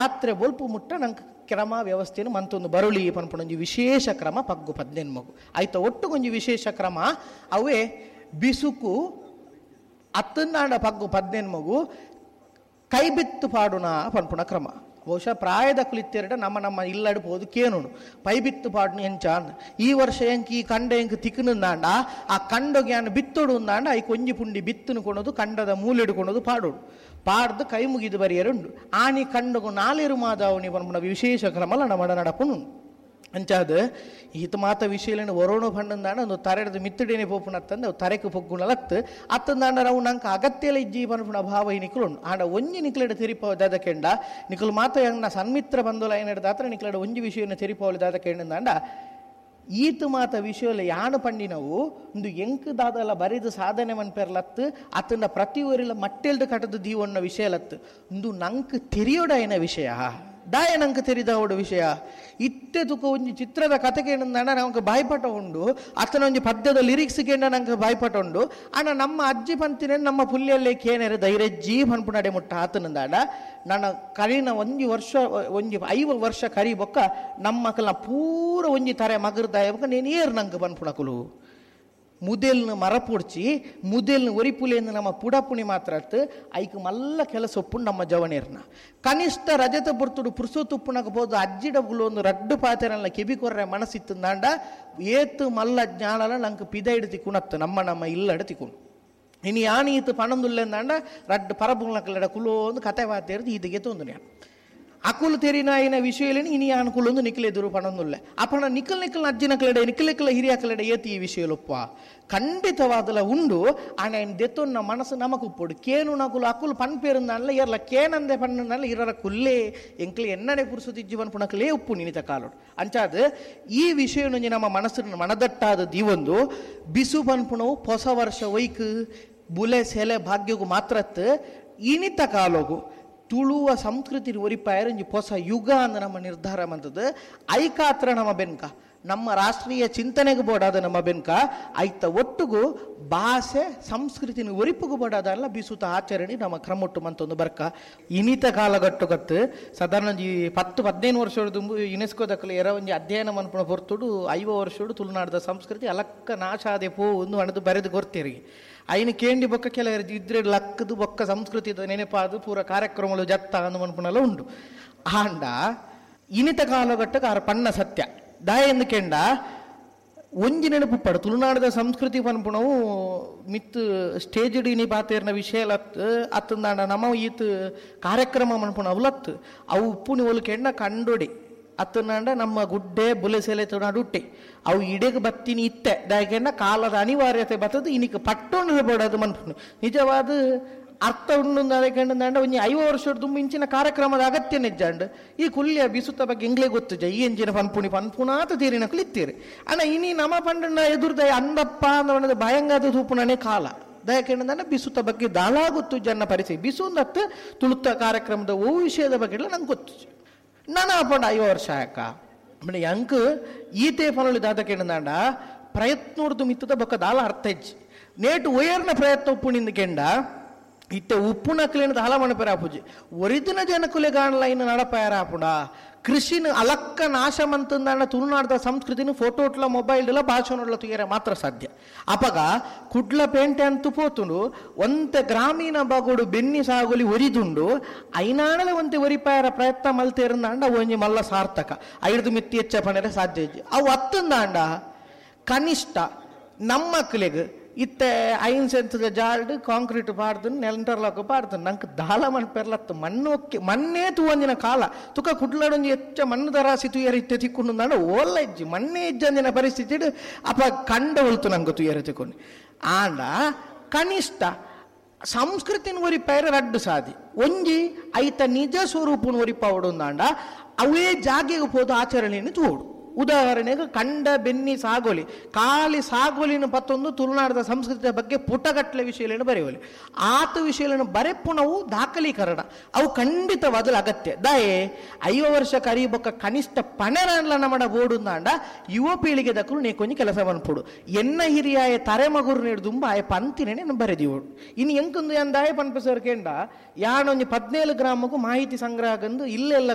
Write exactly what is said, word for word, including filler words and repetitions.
ರಾತ್ರೆ ಬೊಲ್ಪು ಮುಟ್ಟ ನಂಗೆ ಕ್ರಮ ವ್ಯವಸ್ಥೆನು ಮಂತೊಂದು ಬರುಳಿ ಪನ್ಪುನೊಂಜಿ ವಿಶೇಷ ಕ್ರಮ ಪಗ್ಗು ಪದ್ನೆನ್ ಮಗು ಆಯ್ತ ಒಟ್ಟುಗೊಂಜಿ ವಿಶೇಷ ಕ್ರಮ ಅವೇ ಬಿಸುಕು ಅತ್ತಂದಾಂಡ ಪಗ್ಗು ಪದ್ನೆನ್ ಮಗು ಕೈಬಿತ್ತು ಪಾಡುನ ಪನ್ಪುನ ಕ್ರಮ. ಬಹುಶಃ ಪ್ರಾಯದ ಕುಲಿತ್ತೆರಡ ನಮ್ಮ ನಮ್ಮ ಇಲ್ಲಡು ಪೋದು ಕೇನುಡು ಪೈಬಿತ್ತು ಪಾಡುನು ಎಂಚ ಅಂದ್. ಈ ವರ್ಷ ಎಂಕ್ ಈ ಕಂಡ ಎಂಕ್ ತಿಕ್ಕನುಂದಾಂಡ ಆ ಕಂಡೊಗೆ ಯಾನ್ ಬಿತ್ತೊಡು ಉಂದಾಂಡ I ಕೊಂಜಿ ಪುಂಡಿ ಬಿತ್ತುನು ಕೊಣದು ಕಂಡದ ಮೂಲೆಡು ಕೊಣದು ಪಾಡೋಡು ಪಾಡ್ದು ಕೈ ಮುಗಿದು ಬರಿಯರುಂಡು ಆನಿ ಕಂಡಗು ನಾಲೇರು ಮಾದಾವಣಿ ಪನ್ಪುನ ವಿಶೇಷ ಕ್ರಮಲ ನಮ್ಮ ನಡಪುನು ಅಂಚಾದ ಈತ ಮಾತ ವಿಷಯಲೇನು ವರೋಣ ಪಂಡಂದಾಂಡ ಒಂದು ತರೆಡ್ದು ಮಿತ್ತಡೇನೆ ಪೋಪುನತ್ತಂದು ಅವು ತರೆಕು ಪೊಗ್ಗುಣಲತ್ತು ಅತ್ತಂದಾಂಡ ನಾವು ನಂಗೆ ಅಗತ್ಯಲ ಇಜ್ಜಿ ಪನ್ಪುನ ಭಾವ ಈ ನಿಕುಲು ಉಂಡು. ಆಂಡ ಒಂಜಿ ನಿಕ್ಲೆಡ ತೆರಿಪಾವ ದಾದ ಕೆಂಡ ನಿಕುಲು ಮಾತ ಯಂಗ್ನ ಸನ್ಮಿತ್ರ ಬಂದೋಲ ಏನೆಡ್ ದಾತ್ರ ನಿಕ್ಲೆಡ ಒಂಜಿ ವಿಷಯನ ತೆರಿಪಾವಲಿ ದಾದ ಕೆಂಡಂದಾಂಡ ಈತ ಮಾತ ವಿಷಯಲ ಯಾನು ಪಂಡಿನವು ಒಂದು ಎಂಕ್ ದಾದಲ ಬರಿದು ಸಾಧನೆ ಮನ್ಪೆರ್ಲತ್ತು ಅತ್ತಂಡ ಪ್ರತಿ ಊರಿಲ ಮಟ್ಟೆಲ್ದು ಕಟದು ದೀವಣ್ಣ ವಿಷಯಲತ್ತು ಒಂದು ನಂಕ್ ತೆರಿಯೋಡಾಯನ ವಿಷಯ ದಾಯ ನಂಗೆ ತೆರಿದವಡು ವಿಷಯ ಇತ್ತೆ ತುಕ ಒಂಜಿ ಚಿತ್ರದ ಕತೆ ಕೇಂಡ ನಮ್ಗೆ ಬಾಯ್ಪಾಟ ಉಂಡು ಅತನ ಒಂಜಿ ಪದ್ಯದ ಲಿರಿಕ್ಸ್ ಕೇಂಡ ನಂಗೆ ಬಾಯ್ಪಾಟ ಉಂಡು ಆಂಡ ನಮ್ಮ ಅಜ್ಜಿ ಪಂತಿನ ನಮ್ಮ ಪುಲ್ಯಲ್ಲೇ ಕೇನೆರೆ ಧೈರ್ಯಜ್ಜಿ ಪನ್ಪುನಡೆ ಮುಟ್ಟ ಆತನಂದಾಡ ನನ್ನ ಕರಿನ ಒಂಜಿ ವರ್ಷ ಒಂಜಿ ಐವ ವರ್ಷ ಕರಿ ಬೊಕ್ಕ ನಮ್ಮ ಮಕ್ಕಳನ್ನ ಪೂರ ಒಂಜಿ ತರೆ ಮಗರ್ದಾಯ ಬೊಕ್ಕ ನೇನು ಏರ್ ನಂಗೆ ಪನ್ಪುಣಕುಲು ಮುದೆಲ್ನ ಮರಪುಡ್ಚಿ ಮುದೆಲ್ನ ಒರಿಪುಲೇಂದು ನಮ್ಮ ಪುಡಪುಣಿ ಮಾತ್ರ ಅತ್ತು ಐಕ್ ಮಲ್ಲ ಕೆಲಸ ಒಪ್ಪುಂಡು ನಮ್ಮ ಜವನೇರ್ನ ಕನಿಷ್ಠ ರಜತ ಬರ್ತುಡು ಪುರ್ಸೊತ್ತುಪ್ಪುನಕ ಬೋದು ಅಜ್ಜಿಡಗುಲು ಒಂದು ರಡ್ಡು ಪಾತೆರಲ್ಲ ಕೆಬಿ ಕೊರ್ರೆ ಮನಸ್ಸಿತ್ತಂದಾಂಡ ಏತು ಮಲ್ಲ ಜ್ಞಾನಲ ನಂಗೆ ಪಿದ ತಿಕ್ಕುಣತ್ತು ನಮ್ಮ ನಮ್ಮ ಇಲ್ಲಡ ತಿಕ್ಕುಣು ಇನ್ನು ಯಾನ್ ಈತು ಪಣಂದುಲ್ಲೆಂದಾಂಡ ರಡ್ಡು ಪರಬುಂಗ್ಲಕಲ್ಲಡ ಕುಲೋ ಒಂದು ಕತೆ ವಾತೇರ್ದು ಈತಿಗೆ ತೊಂದು ನಾನು ಅಕುಲು ತೆರಿನಾಯಿನ ವಿಷಯಲೇನು ಇನಿ ಅನುಕೂಲೊಂದು ನಿಖಲೆದುರು ಪಣೊಂದುಲ್ಲೆ ಅಪಣ ನಿಖಲ್ ನಿಖಲ್ ಅಜ್ಜಿನ ಕಲೆಡೆ ನಿಖಲ್ ನಿಖಲ ಹಿರಿಯ ಕಲೆಡೆ ಏತಿ ಈ ವಿಷಯಲೊಪ್ಪ ಖಂಡಿತವಾದಲ ಉಂಡು ಆಣ ದೆತ್ತೊನ್ನ ಮನಸ್ಸು ನಮಕು ಉಪ್ಪೊಡು ಕೇನು ನಕುಲು ಅಕುಲು ಪನ್ಪೇರುಂದಾನ್ಲ ಎರ್ಲ ಕೇನಂದೆ ಪಣ್ಣಲ್ಲ ಇರರ ಕುಲ್ಲೇ ಎಂಕ್ಲೆ ಎನ್ನಡೆ ಪುರುಸುತಿಜ್ಜಿ ಪನ್ಪುನಕಲೇ ಉಪ್ಪು ನಿನಿತ ಕಾಲೋಡು ಅಂಚಾದ ಈ ವಿಷಯನೊಂಜಿ ನಮ್ಮ ಮನಸ್ಸು ಮನದಟ್ಟಾದ ದೀವೊಂದು ಬಿಸು ಪನ್ಪುಣವು ಹೊಸ ವರ್ಷ ಒಯ್ಕ್ ಬುಲೆ ಸೆಲೆ ಭಾಗ್ಯಗು ಮಾತ್ರತ್ ಇನಿತ ಕಾಲೋಗು ತುಳುವ ಸಂಸ್ಕೃತಿ ಒರಿಪಾಯರಂಜಿ ಹೊಸ ಯುಗ ಅಂದ ನಮ್ಮ ನಿರ್ಧಾರ ಮಂತದ್ದು ಐಕಾತ್ರ ನಮ್ಮ ಬೆನ್ಕ ನಮ್ಮ ರಾಷ್ಟ್ರೀಯ ಚಿಂತನೆಗೆ ಬೋಡಾದ ನಮ್ಮ ಬೆನ್ಕ ಐತ ಒಟ್ಟುಗು ಭಾಷೆ ಸಂಸ್ಕೃತಿನ ಒರಿಪುಗು ಬೋಡಾದಲ್ಲ ಬಿಸುತ ಆಚರಣೆ ನಮ್ಮ ಕ್ರಮೊಟ್ಟು ಮಂತೊಂದು ಬರ್ಕ ಇನಿತ ಕಾಲಗಟ್ಟುಗತ್ತು ಸಾಧಾರಣ ಒಂಜಿ ಪತ್ತು ಪದಿನೈದು ವರ್ಷದ ಯುನೆಸ್ಕೋದಕ್ಕಲು ಎರ ಒಂಜಿ ಅಧ್ಯಯನ ಮನ್ಪುಣ ಹೊರ್ತುಡು ಐವ ವರ್ಷಡು ತುಳುನಾಡದ ಸಂಸ್ಕೃತಿ ಅಲಕ್ಕ ನಾಶಾದೆ ಪೋ ಒಂದು ಅಣದು ಬರೆದು ಗೊರ್ತೀರಿ ಐನ ಕೇಂಡಿ ಬೊಕ್ಕ ಕೆಲವರು ಇದ್ರೆ ಲಕ್ಕದು ಬೊಕ್ಕ ಸಂಸ್ಕೃತಿ ನೆನಪಾದು ಪೂರ ಕಾರ್ಯಕ್ರಮಗಳು ಜತ್ತ ಅಂದು ಮನ್ಪುಣಲ ಉಂಡು ಆಂಡ ಇನಿತ ಕಾಲಗಟ್ಟಕ್ಕೆ ಆರ ಪಣ್ಣ ಸತ್ಯ ದಾಯ ಎಂದು ಕೆಂಡ ಒಂಜಿ ನೆನಪು ಪಡು ತುಳುನಾಡದ ಸಂಸ್ಕೃತಿ ಪನ್ಪುಣವು ಮಿತ್ ಸ್ಟೇಜ್ ಇನಿ ಪಾತೇರ್ನ ವಿಷಯ ಲತ್ ಅತ್ತಂದಾಂಡ ನಮ್ಮ ಈತ್ ಕಾರ್ಯಕ್ರಮ ಮನ್ಪುಣ ಅವಲತ್ತು ಅವು ಉಪ್ಪುನಿ ಒಲು ಕೆಂಡ ಕಂಡೊಡಿ ಅತ್ತನಾಂಡ ನಮ್ಮ ಗುಡ್ಡೆ ಬುಲೆಸೆಲೆ ತುನಾಡುಟ್ಟೆ ಅವು ಇಡೆಗೆ ಬತ್ತಿನಿ ಇತ್ತೆ ದಾಯಕೆಂಡ ಕಾಲದ ಅನಿವಾರ್ಯತೆ ಬತ್ತದು ಇನಿಕ್ ಪಟ್ಟೊಂಡು ಬೋಡದು ಮನ್ಪುಣು ನಿಜವಾದ ಅರ್ಥ ಉಂಡು ಅದಕ್ಕೆ ಒಂಜಿ ಐವ ವರ್ಷದ ತುಂಬ ಇಂಚಿನ ಕಾರ್ಯಕ್ರಮದ ಅಗತ್ಯ ನಿಜ್ಜಾಂಡ್ ಈ ಕುಲ್ಯ ಬಿಸುತ್ತ ಬಗ್ಗೆ ಎಂಗ್ಲೇ ಗೊತ್ತು ಜ ಈ ಎಂಜಿನ ಪನ್ಪುಣಿ ಪನ್ಪುಣಾತ ತೀರಿನ ಕುಲಿತ್ತೀರಿ ಅಣ್ಣ ಇನಿ ನಮ್ಮ ಪಂಡನ ಎದುರ್ದ ಅಂದಪ್ಪ ಅಂದ ಭಯಂಗಾದ ತೂಪುಣನೇ ಕಾಲ ದಯಕೆಂಡ ಬಿಸುತ್ತ ಬಗ್ಗೆ ದಾಳ ಗೊತ್ತು ಜನ ಪರಿಚಯ ಬಿಸು ಅಂದತ್ತು ತುಳುತ್ತ ಕಾರ್ಯಕ್ರಮದ ಓ ವಿಷಯದ ಬಗ್ಗೆ ಎಲ್ಲ ನಂಗೆ ಗೊತ್ತು ನಾನು ಪಂಡ ಐವ ವರ್ಷ ಯಾಕ ಅಂದ್ರೆ ಅಂಕ್ ಈತೆ ಫಲಳಿ ದಾದ ಪ್ರಯತ್ನೋರ್ದು ಮಿತ್ತದ ಬೊಕ್ಕ ದಾಲ ಅರ್ಥ ಹೆಜ್ಜಿ ನೇಟು ಒಯರ್ನ ಪ್ರಯತ್ನ ಉಪ್ಪುಣಿಂದ ಕೆಂಡ ಇತ್ತೆ ಉಪ್ಪುನಕ್ಲೇನ ದಾಲ ಮಣಪೆರ ಆಪುಜಿ ಒರಿದಿನ ಜನಕುಲೆ ಗಾಣಲೈನ್ ನಡಪಾಯರ ಆಪುಣ ಕೃಷಿನ ಅಲಕ್ಕ ನಾಶ ಮಂತಂದಾಂಡ ತುಳುನಾಡದ ಸಂಸ್ಕೃತಿನ ಫೋಟೋಟ್ಲ ಮೊಬೈಲ್ಲ ಭಾಷಣೋಡ್ಲ ತುಯರೆ ಮಾತ್ರ ಸಾಧ್ಯ. ಅಪಗ ಕುಡ್ಲ ಪೇಂಟೆ ಅಂತೂ ಪೋತುಂಡು ಒಂತೆ ಗ್ರಾಮೀಣ ಬಾಗೋಡು ಬೆನ್ನಿ ಸಾಗುಲಿ ಒರಿದುಂಡು ಐನಾಣಲೆ ಒಂತೆ ಒರಿಪಾಯರ ಪ್ರಯತ್ನ ಮಲ್ತೇರಂದಾಂಡ ಒಂಜಿ ಮಲ್ಲ ಸಾರ್ಥಕ ಐದು ಮಿತ್ತಿ ಹೆಚ್ಚ ಪಣರೆ ಸಾಧ್ಯ ಅವು ಅತ್ತಂದಾಂಡ ಕನಿಷ್ಠ ನಮ್ಮ ಮಕ್ಕಳಿಗೆ ಇತ್ತೆ ಐನ್ ಸೆಂತದ ಜಾಲ್ಡ್ ಕಾಂಕ್ರೀಟ್ ಪಾಡ್ದು ನೆಂಟರ್ಲಾಕ್ ಪಾಡ್ದು ನಂಗೆ ದಾಲ ಮಣ್ಣು ಪೆರ್ಲತ್ತು ಮಣ್ಣು ಒಕ್ಕಿ ಮಣ್ಣೇ ತೂವಂದಿನ ಕಾಲ ತುಕ ಕುಡ್ಲಾಡೊಂಜಿ ಹೆಚ್ಚ ಮಣ್ಣು ದರಾಸಿ ತುಯರ ಇತ್ತೆ ತಿಕ್ಕೊಂಡು ಓಲ್ಲ ಇಜ್ಜಿ ಮಣ್ಣೇ ಇಜ್ಜಂದಿನ ಪರಿಸ್ಥಿತಿ ಅಪ ಕಂಡ ಒಲ್ತು ನಂಗೆ ತುಯರ ತಿಕ್ಕೊಂಡು ಆಂಡ ಕನಿಷ್ಠ ಸಂಸ್ಕೃತಿನ ಒರಿಪಾಯರ ರಡ್ಡು ಸಾದಿ ಒಂಜಿ ಐತ ನಿಜ ಸ್ವರೂಪನ ಒರಿಪಾವಡು ಅಂಡ ಅವೇ ಜಾಗೆಗೆ ಪೋದು ಆಚರಣೆಯನ್ನು ತೂಡು. ಉದಾಹರಣೆಗೆ ಕಂಡ ಬೆನ್ನಿ ಸಾಗೋಲಿ ಖಾಲಿ ಸಾಗೋಲಿನ ಪತ್ತೊಂದು ತುಳುನಾಡದ ಸಂಸ್ಕೃತಿಯ ಬಗ್ಗೆ ಪುಟಗಟ್ಟಲೆ ವಿಷಯಗಳನ್ನು ಬರೆಯುವಲ್ಲಿ ಆತ ವಿಷಯಗಳನ್ನು ಬರೆಪುಣವು ದಾಖಲೀಕರಣ ಅವು ಖಂಡಿತವಾದಲು ಅಗತ್ಯ. ದಾಯೆ ಐವ ವರ್ಷ ಕರಿಬೊಕ್ಕ ಕನಿಷ್ಠ ಪಣೆರಲ್ಲ ನಮ್ಮಡ ಬೋಡುಂದಾಂಡ ಯುವ ಪೀಳಿಗೆ ದಕ್ಕಲು ನೇ ಕೊಂಚ ಕೆಲಸ ಮನ್ಪುಡು ಎನ್ನ ಹಿರಿಯಾಯ ತರೆಮಗುರು ನೀಡುದುಂಬ ಆಯ ಪಂತಿನೇ ಬರೆದಿವಡು ಇನ್ನು ಎಂಕೊಂದು ಎಂದಾಯ ಪನ್ಪಸರ್ ಕೇಂಡ ಯಾನೊಂಜಿ ಪದ್ನೇಳು ಗ್ರಾಮಕ್ಕೂ ಮಾಹಿತಿ ಸಂಗ್ರಹ ಗಂದು ಇಲ್ಲೆಲ್ಲ